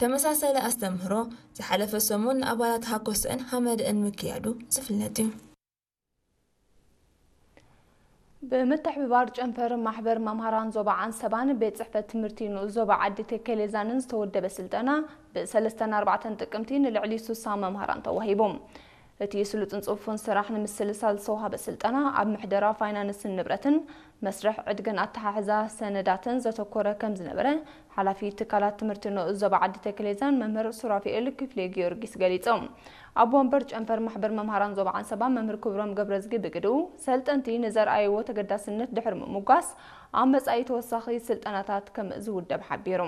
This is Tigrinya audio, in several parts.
ተመሳሳሊ ኣስተምህሮ ዝሓለፈ ሰሙን ንኣባላት ሃኮሰእን ሃመደእን ምክያዱ ዝፍለጥ እዩ። ብምትሕብባር ጨንፈር ማሕበር መምሃራን ዞባ ዓንሰባን ቤት ጽሕፈት ትምህርቲ ንኡስ ዞባ ዓዲ ተከሌዛንን ዝተወደበ ስልጠና ብሰለስተን ኣርባዕተን ጥቅምቲ ንልዕሊ ሱሳ መምሃራን ተዋሂቡ። እቲ ስሉጥን ጽፉን ስራሕ ንምስልሳል ዝተዋሃበ ስልጠና ኣብ ምሕደራ ፋይናንስን ንብረትን መስርሕ ዕድግን ኣተሓሕዛ ሰነዳትን ዘተኮረ ከም ዝነበረ ሓላፊ ትካላት ትምህርቲ ንኡስ ዞባ ዓዲ ተክሌዛን መምህር ሱራፊኤል ክፍሌ ጊዮርጊስ ገሊጾም። ኣብ ወንበር ጨንፈር ማሕበር መምሃራን ዞባ ዓንሰባ መምህር ክብሮም ገብረዝጊ ብግድኡ፣ ሰልጠንቲ ንዘርኣይዎ ተገዳስነት ድሕሪ ምምጓስ ኣብ መጻኢ ተወሳኺ ስልጠናታት ከም ዝውደብ ሓቢሩ።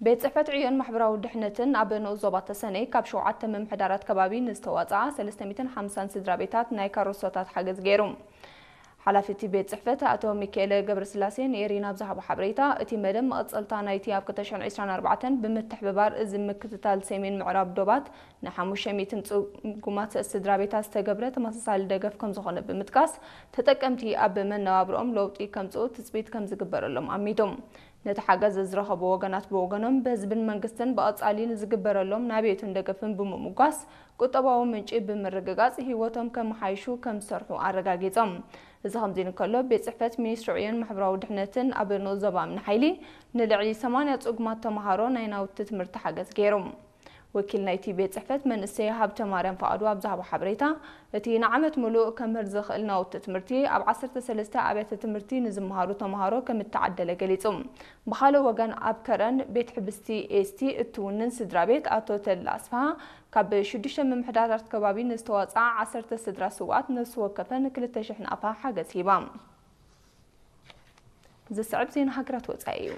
ቤት ጽሕፈት ዕዮን ማሕበራዊ ድሕነትን ኣብ ንኡስ ዞባ ተሰነይ ካብ ሸውዓተ ምምሕዳራት ከባቢ ንዝተዋጽኣ ሰለስተ ሚእትን ሓምሳን ስድራ ቤታት ናይ ካሮሶታት ሓገዝ ገይሩ። ሓላፊ እቲ ቤት ጽሕፈት ኣቶ ሚካኤለ ገብረስላሴ ንኤሪና ኣብ ዝሃቦ ሓበሬታ፣ እቲ መደብ መቐጸልታ ናይቲ ኣብ ክልተ ሽሕን ዕስራን ኣርባዕተን ብምትሕብባር እዚ ምክትታል ሰሜን ምዕራብ ዶባት ንሓሙሽተ ሚእትን ጽጉማት ስድራ ቤታት ዝተገብረ ተመሳሳሊ ደገፍ ከም ዝኾነ ብምጥቃስ፣ ተጠቀምቲ ኣብ መነባብሮኦም ለውጢ ከምጽኡ ትጽቢት ከም ዝግበረሎም ኣሚቶም። ነቲ ሓገዝ ዝረኸቡ ወገናት ብወገኖም፣ ብህዝብን መንግስትን ብቐጻሊ ንዝግበረሎም ናብየቱን ደገፍን ብምምጓስ፣ ቁጠባዊ ምንጪ ብምርግጋጽ ህይወቶም ከመሓይሹ ከም ዝሰርሑ ኣረጋጊጾም። እዚ ከምዚ እንከሎ፣ ቤት ጽሕፈት ሚኒስትሪ ዕዮን ማሕበራዊ ድሕነትን ኣብ ንኡስ ዞባ እምኒ ሓይሊ ንልዕሊ ሰማንያ ጽጉማት ተመሃሮ ናይ ናውቲ ትምህርቲ ሓገዝ ገይሩ። ወኪል ናይቲ ቤት ጽሕፈት መንእሰይ ሃብተ ማርያም ፍቓዱ ኣብ ዝሃቦ ሓበሬታ፣ እቲ ንዓመት ምሉእ ከምህር ዝኽእል ናውቲ ትምህርቲ ኣብ ዓሰርተ ሰለስተ ኣብያተ ትምህርቲ ንዝመሃሩ ተመሃሮ ከም እተዓደለ ገሊጹ። ብኻልእ ወገን፣ ኣብ ከረን ቤት ሕብስቲ ኤስቲ እትውንን ስድራ ቤት ኣቶ ተድላ ኣስፍሃ፣ ካብ ሽዱሽተ ምምሕዳራት ከባቢ ንዝተዋጽኣ ዓሰርተ ስድራ ስውኣት ነፍሲ ወከፈን ክልተ ሽሕ ናቕፋ ሓገዝ ሂባ። ዝስዕብ ዜና ሃገራት ወጻኢ እዩ።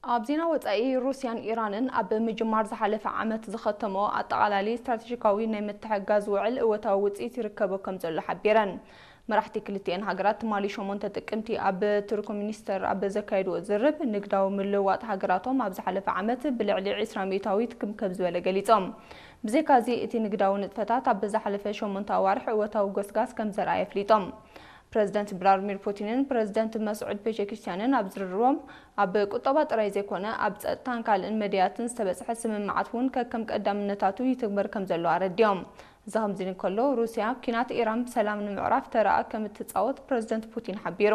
ኣብ ዜና ወጻኢ፣ ሩስያን ኢራንን ኣብ ምጅማር ዝሓለፈ ዓመት ዝኸተመኦ ኣጠቓላሊ ስትራቴጂካዊ ናይ ምትሕግጋዝ ውዕል እወታዊ ውጽኢት ይርከቦ ከም ዘሎ ሓቢረን። መራሕቲ ክልቲኤን ሃገራት ትማሊ ሸሞንተ ጥቅምቲ ኣብ ቱርክሚኒስተር ኣብ ዘካየድዎ ዝርብ፣ ንግዳዊ ምልውዋጥ ሃገራቶም ኣብ ዝሓለፈ ዓመት ብልዕሊ ዕስራ ሚእታዊት ክምከብ ዝበለ ገሊጾም። ብዘይካዚ፣ እቲ ንግዳዊ ንጥፈታት ኣብ ዝሓለፈ ሸሞንተ ኣዋርሕ እወታዊ ጎስጋስ ከም ዘርኣየ ኣፍሊጦም። ፕረዚደንት ቭላድሚር ፑቲንን ፕረዚደንት መስዑድ ፔዜሽኪያንን ኣብ ዝርርቦም፣ ኣብ ቁጠባ ጥራይ ዘይኮነ፣ ኣብ ጸጥታን ካልእን መዳያትን ዝተበጽሐ ስምምዓት እውን ከከም ቀዳምነታቱ ይትግበር ከም ዘሎ ኣረዲኦም። እዚ ከምዚ እንከሎ፣ ሩስያ ኲናት ኢራን ብሰላም ንምዕራፍ ተራኣ ከም እትጻወት ፕረዚደንት ፑቲን ሓቢሩ።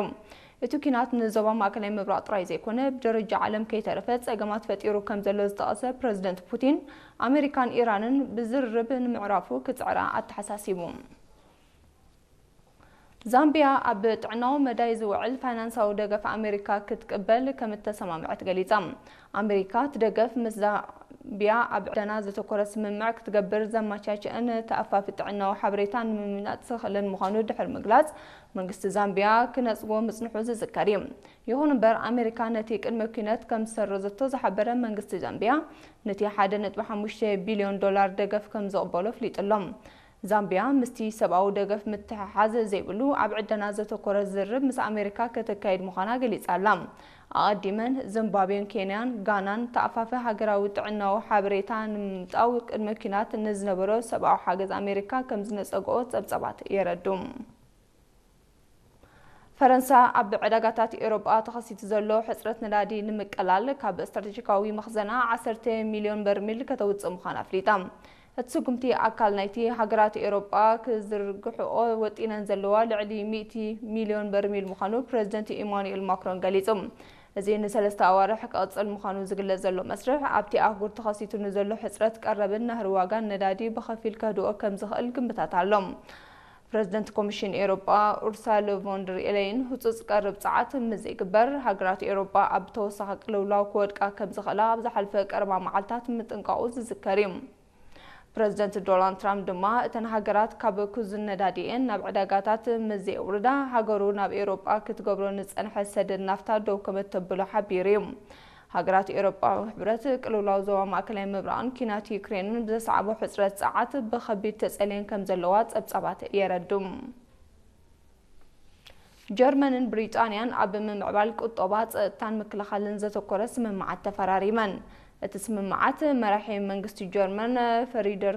እቲ ኲናት ንዞባ ማእከላይ ምብራቕ ጥራይ ዘይኮነ፣ ብደረጃ ዓለም ከይተረፈ ጸገማት ፈጢሩ ከም ዘሎ ዝጠቐሰ ፕረዚደንት ፑቲን፣ ኣመሪካን ኢራንን ብዝርርብ ንምዕራፉ ክጽዕራ ኣተሓሳሲቡ። ዛምቢያ ኣብ ጥዕናዊ መዳይ ዝውዕል ፋይናንሳዊ ደገፍ ኣመሪካ ክትቅበል ከም እተሰማምዐት ገሊጻ። ኣመሪካ እቲ ደገፍ ምስ ዛምቢያ ኣብ ዕደና ዘተኮረ ስምምዕ ክትገብር ዘመቻችእን ተኣፋፊ ጥዕናዊ ሓበሬታ ንምምላጥ ዝኽእልን ምዃኑ ድሕሪ ምግላጽ፣ መንግስቲ ዛምቢያ ክነጽጎ ምጽንሑ ዝዝከር እዩ። ይኹን እምበር፣ ኣመሪካ ነቲ ቅድመ ኲነት ከም ዝሰረዘቶ ዝሓበረ መንግስቲ ዛምቢያ፣ ነቲ ሓደ ነጥቢ ሓሙሽተ ቢልዮን ዶላር ደገፍ ከም ዝቕበሎ ኣፍሊጡ ኣሎ። ዛምቢያ ምስቲ ሰብኣዊ ደገፍ ምትሕሓዝ ዘይብሉ ኣብ ዕደና ዘተኮረ ዝርርብ ምስ ኣሜሪካ ከተካይድ ምዃና ገሊጻ ኣላ። ኣቐዲመን ዚምባብዌን ኬንያን ጋናን ተኣፋፊ ሃገራዊ ጥዕናዊ ሓበሬታ ንምምጣው ቅድመ ኲናት ንዝነበሮ ሰብኣዊ ሓገዝ ኣሜሪካ ከም ዝነጸግኦ ጸብጻባት የረዱ። ፈረንሳ ኣብ ዕዳጋታት ኤውሮጳ ተኸሲቱ ዘሎ ሕጽረት ነዳዲ ንምቅላል ካብ ስትራቴጂካዊ መኽዘና ዓሰርተ ሚልዮን በርሚል ከተውጽእ ምዃና ኣፍሊጣ። እቲ ስጉምቲ ኣካል ናይቲ ሃገራት ኤውሮጳ ክዝርግሕኦ ወጢነን ዘለዋ ልዕሊ ሚእቲ ሚልዮን በርሚል ምዃኑ ፕረዚደንት ኢማኑኤል ማክሮን ገሊጹ። እዚ ንሰለስተ ኣዋርሕ ክቕጽል ምዃኑ ዝግለጽ ዘሎ መስርሕ፣ ኣብቲ ኣህጉር ተኸሲቱ ንዘሎ ሕጽረት ቀረብን ናህሪ ዋጋን ነዳዲ ብኸፊል ከህድኦ ከም ዝኽእል ግምታት ኣሎ። ፕረዚደንት ኮሚሽን ኤውሮጳ ኡርሳለ ቮን ደር ሌየን፣ ህጹጽ ቀረብ ጸዓት ምስ ዘይግበር፣ ሃገራት ኤውሮጳ ኣብ ተወሳኺ ቅልውላው ክወድቃ ከም ዝኽእላ ኣብ ዝሓለፈ ቀረባ መዓልታት ምጥንቃቑ ዝዝከር እዩ። ፕረዚደንት ዶናልድ ትራምፕ ድማ፣ እተን ሃገራት ካብ ክዙን ነዳዲኤን ናብ ዕዳጋታት ምስ ዘየውርዳ፣ ሃገሩ ናብ ኤውሮጳ ክትገብሮ ንጸንሐ ሰደድ ናፍታ ደው ከም እተብሎ ሓቢሩ እዩ። ሃገራት ኤውሮጳዊ ሕብረት፣ ቅልውላው ዞባ ማእከላይ ምብራቕን ኲናት ዩክሬንን ብዘስዓቦ ሕጽረት ጸዓት ብኸቢድ ተጸልየን ከም ዘለዋ ጸብጻባት የረዱ። ጀርመንን ብሪጣንያን ኣብ ምምዕባል ቁጠባ፣ ጸጥታን ምክልኻልን ዘተኮረ ስምምዓት ተፈራሪመን። እቲ ስምምዓት መራሒ መንግስቲ ጀርመን ፍሪደር